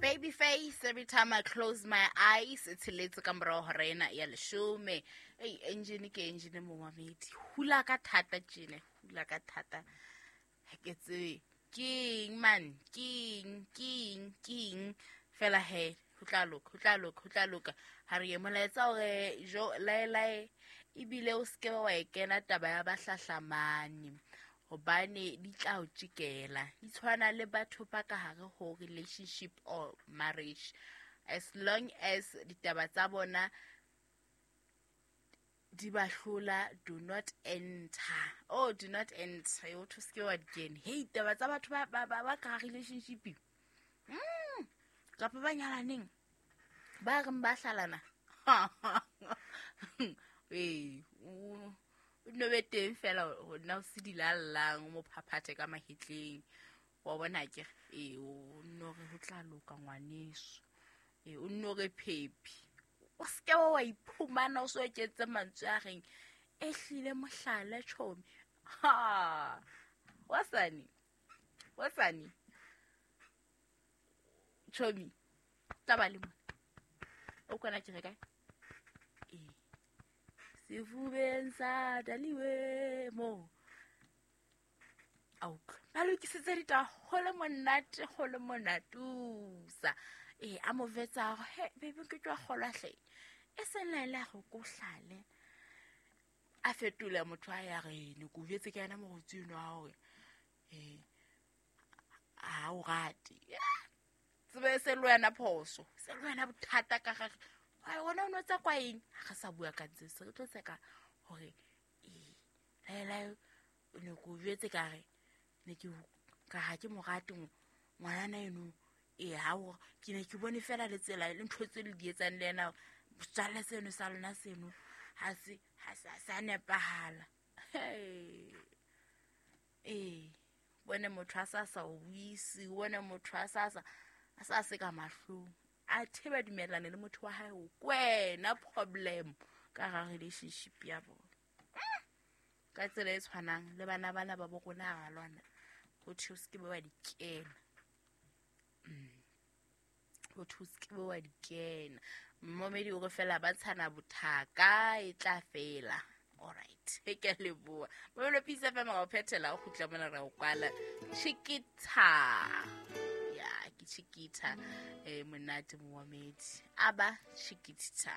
Baby face, every time I close my eyes, tsheletse ka morago hora ena ya leshome. Ei, engine ke engine, momamedi. Hula ka thata tjene, hula ka thata. Ha ke tsebe keng man, keng, keng, keng. Fela he, ho tla loka, ho tla loka, ho tla loka. Ha re ye molaetsa hore jo lae lae ebile o seke wa e kena taba ya bahlahlamane, hobane di tla o tjekela. Di tshwana le batho ba ka hare ho relationship or marriage. As long as ditaba tsa bona di ba hlola, do not enter. Oh, do not enter. Yo to seke wa di kena. Hey, taba tsa batho ba ka relationship. Kapa ba nyalaneng, ba reng ba hlalana. Ee, o no be teng fela ho nna o se dilallang, o mo phaphathe ka mahetleng. Wa bona ke ee, o nno re ho tla loka ngwaneso. Ee, o nno re phephi. O seke wa iphumana o so eketse mantswe a reng e hlile mohlala tjhomi. Ha! Wasane. Wasane. Tjhomi. Tla ba le mona. O kwana ke re kae? Ee. Sefubeng sa daliwe mo. A utlwa. Ba lokisitse ditaba ho le monate, ho le monatusa. Ee, a mo vetsa hore, he, baby, ke tswa kgolwa hle. E seng la ile go ko hlale. A fetola motho a ya re, ne ko jwetse ke yena mogotsi eno wa hore, ha o rate. Tsebe se le wena phoso, se le wena bothata ka gare. Wa wena o no tsa kwa eng? Ha re sa bua ka ntse se re tlo tseka hore, ee, lae lae, ne ko jwetse ka re, ne ke ka ha ke mo rate ngwanana eno. Ee, ha o, ke ne ke bone fela le tsela le ntho tse le di etsang le yena, setswalle seno sa lona seno ha se, ha se, ha se a nepahala. Ee, bone motho a sa sa o buise, bone motho a sa sa, a sa se ka mahlong. A the ba dumellane le motho wa hae, o kwena problem ka ga relationship ya bona. Ka tsela e tshwanang le bana bana ba bo rona ha ba lwana, ho thwe o se ke be wa di kena. Ho thwe o se ke be wa di kena. Mmomedi o re fela ba tshana bothaka e tla fela. All right, ke a leboha. Momelo Peace FM ga o phethela, o kgutla mona ra o kwala. Chiquita. Ya, ke Chiquita. Monate momedi. Aba Chiquita.